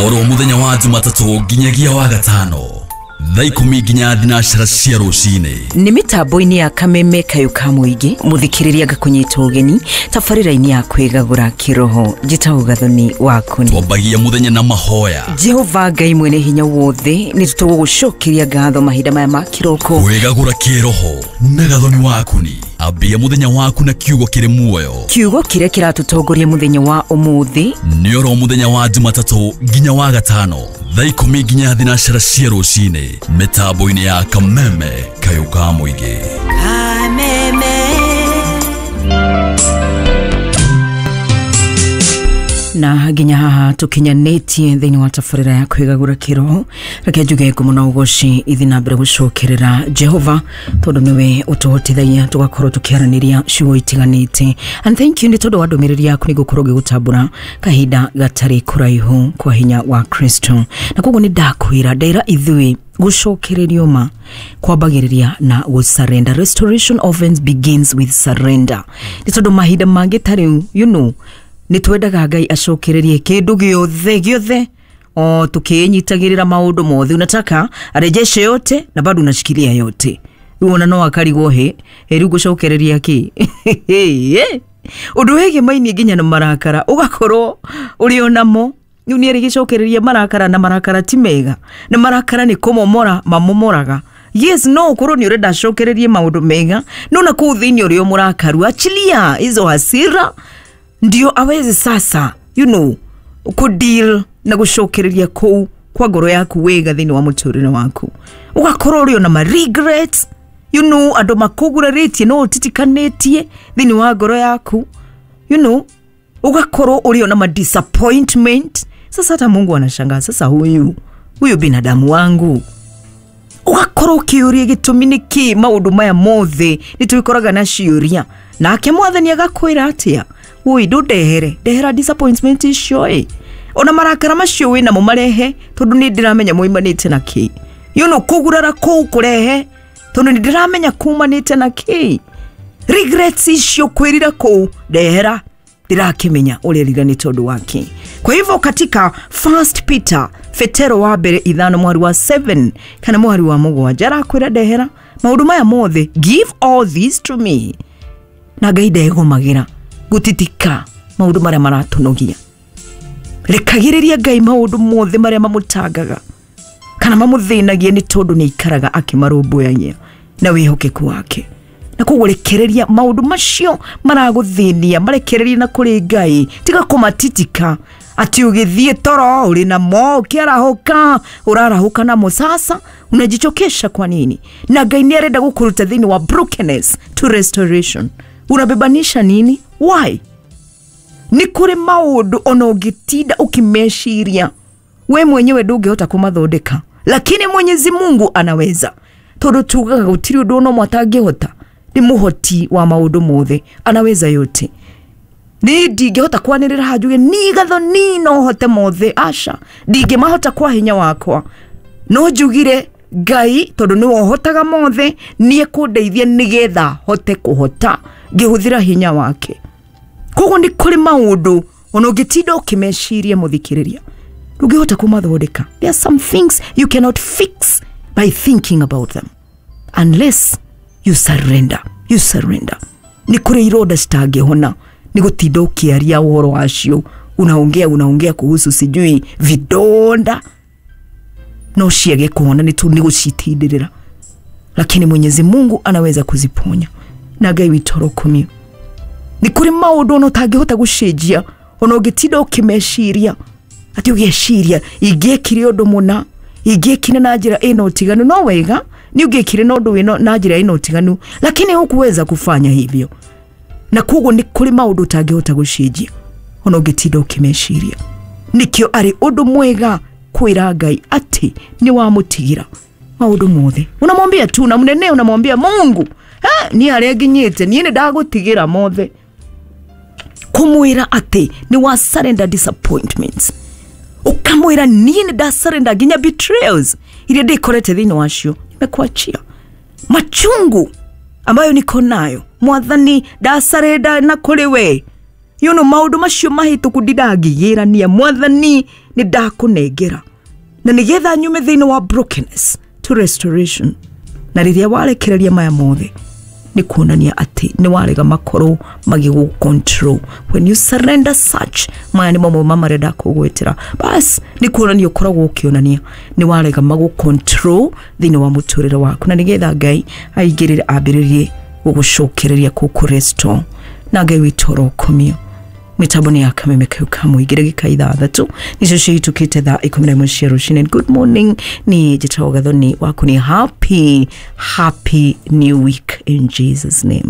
Oro muthenya wa Jumatatũ nginyagia wa gatano thaa 10 nginya 12 cia rũcinĩ. Nĩ mĩtambo-inĩ ya Kameme Kayũ ka Mũingĩ, mũthikĩrĩria ngakũnyita ũgeni tabarĩra-inĩ ya kwĩgagũra kĩroho. Njĩtagwo Gathoni Wakũni. Twambagia mũthenya na mahoya. Jehova Ngai mwene hinya wothe, nĩ tũgũgũcokeria ngatho mahinda maya ma kĩroko. Kwĩgagũra kĩroho na Gathoni Wakũni. Ambia mũthenya waku na kiugo kĩrĩ muoyo. Kiugo kĩrĩa kĩratũtongoria mũthenya wa ũmũthĩ nĩ oro mũthenya wa Jumatatũ nginya wa gatano thaa 10 nginya 12 cia rũcinĩ mĩtambo-inĩ ya Kameme Kayũ ka Mũingĩ. Kameme. Na nginya haha tukinyanĩtie thĩinĩ wa tabarĩra ya kwĩgagũra kĩroho. Reke njuge ngumo na ũgoci ithi na mbere gũcokerera Jehova tondũ nĩwe ũtũhotithagia tũgakorwo tũkĩaranĩria ciugo itiganĩte. And thank you nĩ tondũ wa ndũmĩrĩri yaku nĩ ngũkorwo ngĩgũtambũra kahinda gatarĩ kũraihu kwa hinya wa Kristo. Na koguo nĩ ndakwĩra ndera ithuĩ gũcokererio ma kwambagĩrĩria na gũsurrender. Restoration often begins with surrender. Nĩ tondũ mahinda mangĩ ta rĩu, you know, nĩ twendaga Ngai acokererie kĩndũ gĩothe gĩothe, o tukinyitagĩrĩra maũndũ mothe, unataka arejeshe yote na bado unashikilia yote. Rĩu ona no akarigwo he rĩu ngũcokereria kĩ? Ũndũ wĩgiĩ maini nginya na marakara ũgakorwo ũrĩ onamo. Rĩu nĩ erĩgĩcokereria marakara, na marakara ti mega, na marakara nĩ kũmomora mamomoraga. Yes, no ukorwo ni urenda acokererie maũndũ mega, no na kũu thĩinĩ ũrĩ o mũrakaru, achilia hizo hasira ndio aweze sasa, you know, kudeal na gũcokereria kũu kwa ngoro yaku wega thĩinĩ wa mũtũrĩre waku. Ũgakorwo ũrĩ ona ma regrets, you know, andũ makũgurarĩtie no ũtitikanĩtie thĩinĩ wa ngoro yaku, you know, ũgakorwo ũrĩ ona ma disappointment. Sasa hata Mungu anashangaa, sasa huyu binadamu wangu. Ũgakorwo ũkĩũria gĩtũmi nĩ kĩ maũndũ maya mothe nĩ twĩkoraga na ciũria, nake Mwathani agakwĩra atĩa? Ui, ndũndehere, ndehera disappointment icio ĩ, ona marakara macio wĩ namo marehe, tondũ nĩ ndĩramenya moimanĩte na kĩ. You know, kũgurara kũu kũrehe, tondũ nĩ ndĩramenya kumanĩte na kĩ. Regrets icio, kwĩrira kũu, ndehera, ndĩrakĩmenya ũrerira nĩ tondũ wa kĩ. Kwa hivyo katika 1 Peter, Petero wa mbere 5 mwari wa 7 kana mwari wa 7, arakwĩra ndehera maũndũ maya mothe, give all these to me. Na Ngai ndegomagĩra gũtitika maũndũ marĩa maratũnogia. Rekagĩrĩria Ngai maũndũ mothe marĩa mamũtangaga kana mamũthĩnagia, nĩ tondũ nĩ aikaraga akĩmarũmbũyagia na wĩhokeku wake. Na koguo rekereria maũndũ macio maragũthĩnia, marekererie na kũrĩ Ngai, tiga kũmatitika ati ũgĩthiĩ toro ũrĩ namo, ũkĩarahũka ũrarahũka namo. Sasa unajichokesha kwa nini? Na Ngai nĩ arenda gũkũruta thĩinĩ wa brokenness to restoration. Unabebanisha nini? Why? Nĩ kũrĩ maũndũ ona ũngĩtinda ũkĩmeciria we mwenyewe ndũngĩhota kũmathondeka, lakini Mwenyezi Mungu anaweza. Tondũ tugaga gũtirĩ ũndũ ona ũmwe atangĩhota, nĩ mũhoti wa maũndũ mothe, anaweza yote. Ni ndingĩhota kwanĩrĩra haha njuge ni Gathoni no hote mothe, aca, ndingĩmahota kwa hinya wakwa, no njugire Ngai tondũ nĩwe ũhotaga mothe, nĩ ekũndeithia nĩgetha hote kũhota ngĩhũthĩra hinya wake. Koguo nĩ kũrĩ maũndũ ona ũngĩtinda ũkĩmeciria mũthikĩrĩria ndũngĩhota kũmathondeka. There are some things you cannot fix by thinking about them unless you surrender. You surrender. Nĩ kũrĩ ironda citangĩhona nĩ gũtinda ũkĩaria ũhoro wacio, unaongea kuhusu sijui vidonda, no ciage kuona nĩ tu nĩ gũcitindĩrĩra, lakini Mwenyezi Mungu anaweza kuziponya. Na Ngai witũ arokumio. Nĩ kũrĩ maũndũ ona ũtangĩhota gũcenjia ona ũngĩtinda ũkĩmeciria, atĩ ũgĩciria ingĩekire ũndũ mũna, ingĩekire na njĩra ĩno ũtiganu, no wega nĩ ũngĩekire na ũndũ wĩno na njĩra ĩno ũtiganu, lakini hukuweza kufanya hivyo. Na koguo nĩ kũrĩ maũndũ ũtangĩhota gũcenjia ona ũngĩtinda ũkĩmeciria. Nĩkĩo arĩ ũndũ mwega kwĩra Ngai atĩ nĩ wamũtigĩra maũndũ mothe. Unamwambia tu, unamnenea, unamwambia Mungu, niĩ harĩa nginyĩte niĩ nĩ ndagũtigĩra mothe. Kũmwĩra atĩ nĩ wa surrender disappointments, ũkamwĩra niĩ nĩ nda surrender nginya betrayals iria ndĩkorete thĩinĩ wacio, nimekuachia machungu ambayo niko nayo, Mwathani nda surrender na kũrĩ we. You know, maũndũ macio mahĩtũku ndindangĩgĩrania, Mwathani nĩ ndakũnengera, na nĩgetha nyume thĩinĩ wa brokenness to restoration. Na rĩrĩa warekereria maya mothe, nĩ kuonania atĩ nĩ warega makorwo magĩgũ control. When you surrender such, maya nĩ mamwe ma marĩa ndakũgwetera, bas nĩ kuonania ũkoragwo ũkĩonania nĩ warega magũ control thĩinĩ wa mũtũrĩre waku, na nĩgetha Ngai aingĩrĩre, ambĩrĩrie gũgũcokereria, kũkũ restore. Na Ngai witũ orokomio. Mĩtambo nĩ ya Kameme kau ka mũingĩ. Ndagĩka 6 nicio cihĩtũkĩte thaa 11 cia rũcinĩ. Good morning, ni njĩtagwo Gathoni waku. Ni happy, happy new week in Jesus' name.